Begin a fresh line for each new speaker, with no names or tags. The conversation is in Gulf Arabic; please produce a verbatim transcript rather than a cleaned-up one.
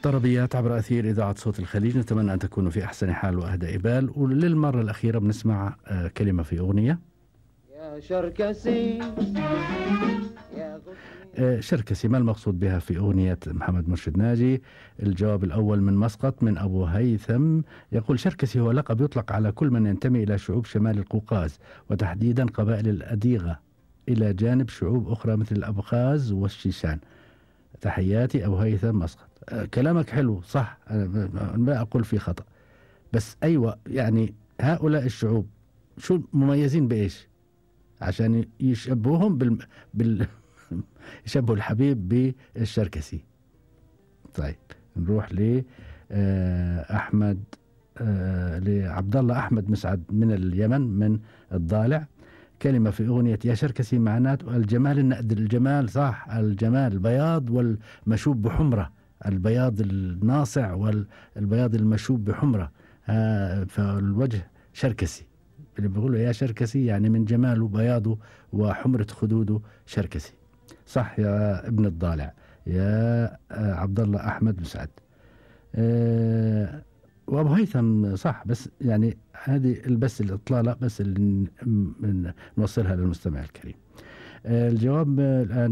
طربيات عبر أثير إذاعة صوت الخليج، نتمنى أن تكونوا في أحسن حال وأهدى إبال. وللمرة الأخيرة بنسمع آه كلمة في أغنية.
يا شركسي يا
آه شركسي، ما المقصود بها في أغنية محمد مرشد ناجي؟ الجواب الأول من مسقط من أبو هيثم، يقول: شركسي هو لقب يطلق على كل من ينتمي إلى شعوب شمال القوقاز، وتحديدا قبائل الأديغة، إلى جانب شعوب أخرى مثل الأبخاز والشيشان. تحياتي أبو هيثم مسقط. أه كلامك حلو صح، أنا ما أقول فيه خطأ، بس أيوة يعني هؤلاء الشعوب شو مميزين بإيش عشان يشبههم بال, بال... يشبهوا الحبيب بالشركسي. طيب نروح ل أحمد أه لعبد الله أحمد مسعد من اليمن من الضالع. كلمة في أغنية يا شركسي معناته الجمال النقد. الجمال صح، الجمال البياض والمشوب بحمرة، البياض الناصع والبياض المشوب بحمرة. آه فالوجه شركسي، اللي بيقولوا يا شركسي يعني من جماله بياضه وحمرة خدوده شركسي. صح يا ابن الضالع يا آه عبد الله أحمد مسعد. آه وأبو هيثم صح، بس يعني هذه بس الإطلالة بس اللي نوصلها للمستمع الكريم. الجواب الآن